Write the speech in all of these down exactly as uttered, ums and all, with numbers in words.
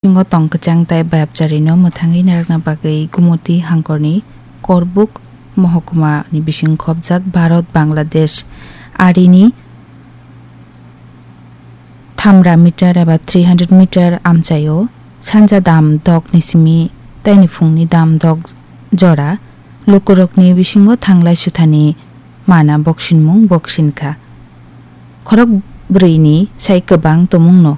Bisingo tong kwchang tai bayapcharino mwthangwi narwkna bagwi Gumoti hangkorni Korbuk mohokuma ni bising khopjak Bharat Bangladesh arini thamra meter eba three hundred meter amchaio sanja dam dok ni simi taini phungni dam dok jora lukurokni bisingo thanglai suthani mana boksinmung boksin kha. Khorok bwrwini sai kwbang tumungno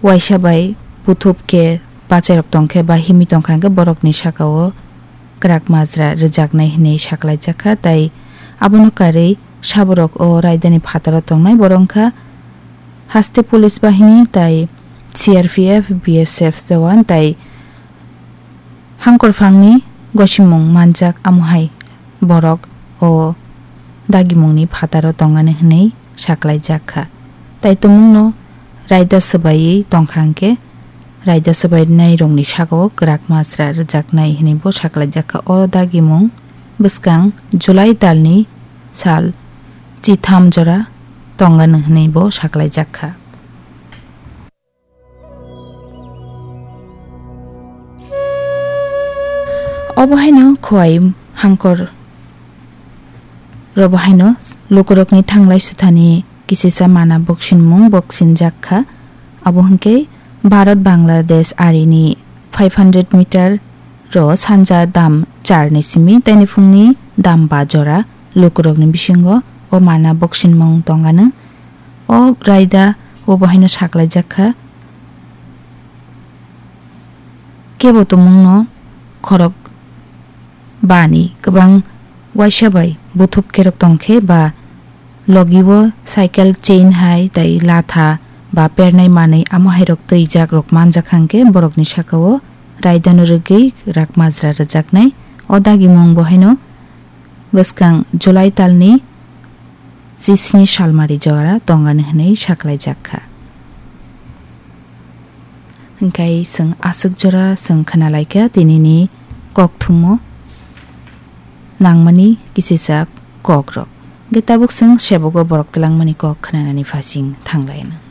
waisa bai buthup khe bachairok tong khe ba himwi tong kha hwnkhe borokni sakao kwrak majra rwjaknai hwnwi saklaijak kha, tai abono karwi saborok o raidani phataro tongnai borok wngkha haste police bahini tai C R P F, B S F jawan tai hangkorphangni gosimung manjak, amo hai borok o dagimungni phataro tongani hwnwi saklaijak kha. Tai tumungno raida swbaiwi tong kha hwnkhe, raida swbainairokni sakao kwrak majra rwjaknai hwnwibo saklaijak kha. O dagimung bwskang July talni sal chitham jora tongani hwnwibo saklaijak kha. Obo haino Khowai hangkor robo haino lukurokni thanglai suthani kisisa mana boksinmung boksinjak kha. Abo hwnkhe Bharat Bangladesh arini five hundred meter ro sanja dam char ni simi taini phungni dam ba jora lukurokni bisingo o mana boksinmung tongano. O raida obo haino saklaijak kha. Kebo tumungno khorok bani kwbang waisa bai buthub kerok tong khe ba logi o cycle chain hai tai latha ba pernai manwi amo hairok twijak rok manjak hwnkhe borokni sakao raidano rwgwi rak majra rwjaknai. O dagimung bo haino bwskang July talni chisni salmari jora tongani hwnwi saklaijak kha. Hwnkhe chwng aswk jora chwng khna lai kha tinini kok thummo nangmani kisisa kok rok. Hwnkhe tabuk chwng sebogo borok twlangmani kok khnanani phasing thanglaino.